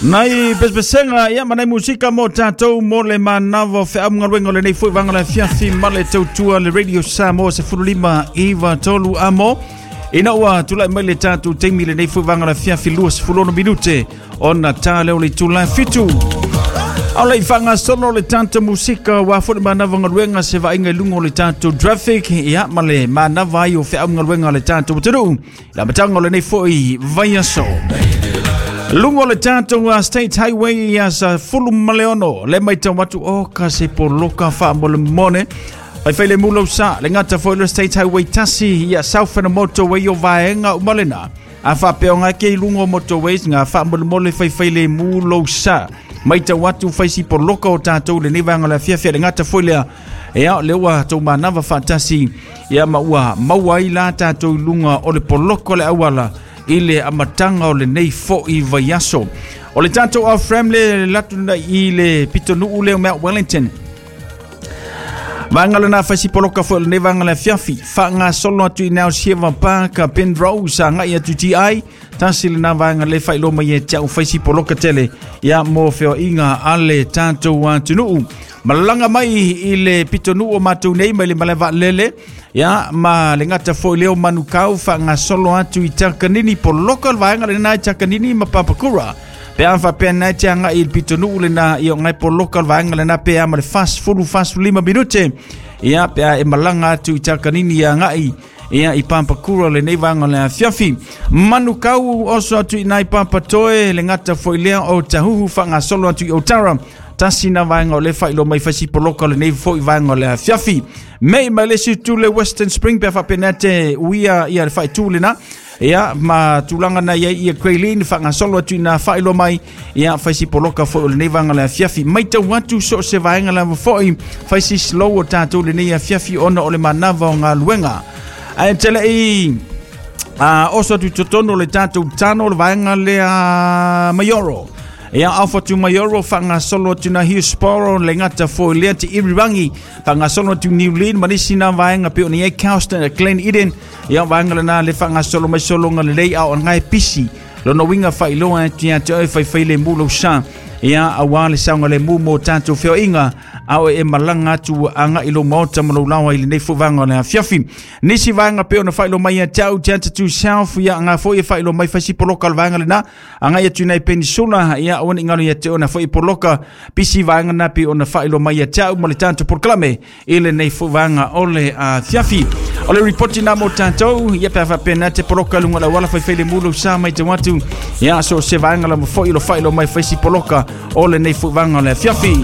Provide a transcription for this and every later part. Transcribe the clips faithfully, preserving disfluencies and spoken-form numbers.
Nai pespesenga ia manai musika mo tatou mo le manava o feamugaluega o lenei foi vaega o le afiafi ma le tautua le Radio Samoa sefulu lima iva tolu amo. Ina ua tulai mai le tatou taimi lenei foi vaega o le afiafi lua sefulu ono minute ona tā lea o le itula e fitu. Ao le i faagasolo le tatou musika ua foi le manava galuega se vaaiga i luga o le tatou traffic ia ma le manava ai o feamugaluega a le tatou atunuu i le amataga o lenei foi vaiaso. Luga o le tatou uh, State Highway ia sa fulu ma le ono le matau atu o ka se poloka faamolemole faifai le mulau sa le gata foi le State Highway tasi ia South and Motorway o vaega uma lena a faapeoga ke i luga o motorways nga faamolemole faifai le mulou sa matau atu faisi poloka o tatou lenei vaega o le afiafi le gata foi lea ia le ua tou manava faatasi ia ma ua maua ai la tatou i luga o le poloko le auala i le amataga o lenei fo'i vaiaso. O le tatou off-ramp le latu i le pitonuu lea o Mount Wellington. Vaega lena faisi poloka foi o lenei vaega o le afiafi. Faagasolo atu i Now Sieva Park, Penrose, agai atu T I. Tasi lena vaega le faailoa mai e te au faisi poloka tele ia mo feoaiga a le tatou atunuu. Malaga mai i le pitonuu o matou nei mai le malae vaalele ia ma le gata foi leo Manukau faagasolo atu i Takanini poloka le vaega lena i Takanini ma Papakura. Pe a faapea nai te agai i le pitonuu lena ia o ngai poloka le vaega lena pe a ma le fasefulu fasefulima minute ia pe a e malaga atu i Takanini ia agai ia i Papakura lenei vaega o le afiafi. Manukau oso atu i nai Papatoe le gata foi lea o Tahuhu faagasolo atu i Otara. Tasi na vaega o le faailoa mai faisi poloka o lenei foi vaega o le afiafi. Mei mai le isi itu le Western Spring pe faapena te uia ia le faaitu lena. Ia ma tulaga na iai ia Greylin faagasolo atu ina faailoa mai ia faisi poloka foi o lenei vaega o le afiafi. Matau atu so o se vaega lava foi faisi slow o tatou lenei afiafi ona o le manava o galuega. Ae tele i a oso atu i totonu o le tatou tano o le vaega lea Maioro. Ia alfa tu Maioro faagasolo atu na Hillsborough le gata foi lea te Irirangi faagasolo atu New Lynn ma nisi na vaega pe o ni ai Carlston Glen Eden ia vaega lena le faagasolo mai sologa lelei a o ngai pisi lona uiga faailoa atu ia te oe faifai le mulou sa ia auā le saoga le mu mo tatou feoaiga a o e malaga atu agai lou maota ma lou laoa i lenei foi vaega o le afiafi. Nisi vaega pe ona faailoa mai ia te au te atu South ia nga foi e faailoa mai faisi poloka o le vaega lena agai atu nai Peninsula ia aua ne i galo ia te ona foi poloka pisi vaega na pe ona faailoa mai ia te au ma le tatou polokalame i lenei foi vaega o le afiafi. O le ripoti na mo tatou ia pe a faapena te poloka luga o le auala faifai le mulou sa matau atu ia so o se vaega lava foi o lo faailoa mai faisi poloka o lenei foi vaega o le afiafi.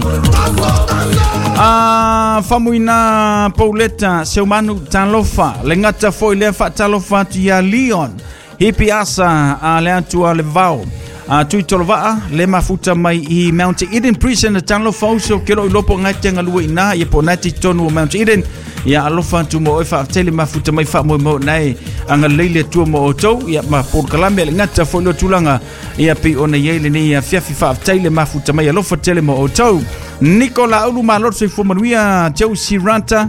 A famuina Pauleta Seumanu talofa le gata foi lea faatalofa atu ia Leon Hipi asa a le atu a le vao a tui tolovaa le mafuta mai i Mount Eden Prison talofa uso ke lo i lopo ngai te ngalua ina ia po nai te tonu o Mount Eden ia alofa atu mo oe faafetele mafuta mai faamoemoe nae agalelei le Atua mo outou ia ma polokalame le gata foi lea tulaga ia pei ona iai lenei afiafi faafetai le mafuta mai alofa tele mo outou. Nikola Ulu malo soifua manuia Josie Ranta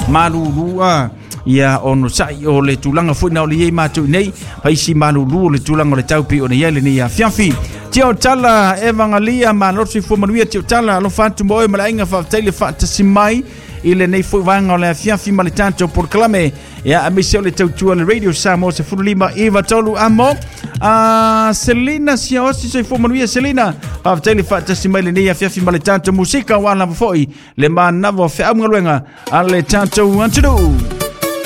malulua ia ono sai o le tulaga foi na o le iai matou nei faisi malulu o le tulaga o le tau pei ona iai lenei afiafi. Tio Tala Evangalia malo soifua manuia Tio Tala alofa atu mo oe ma le aiga faafetai le faatasi mai i lenei foi vaega o le afiafi ma le tatou polokalame ia aemaise o le tautua le Radio Samoa sefulu lima iva tolu amo. A Selina Siaosi soifua manuia Selina faafetai le faatasi mai lenei afiafi ma le tatou musika ua lava foi le manava o feamugaluega a le tatou atunuu.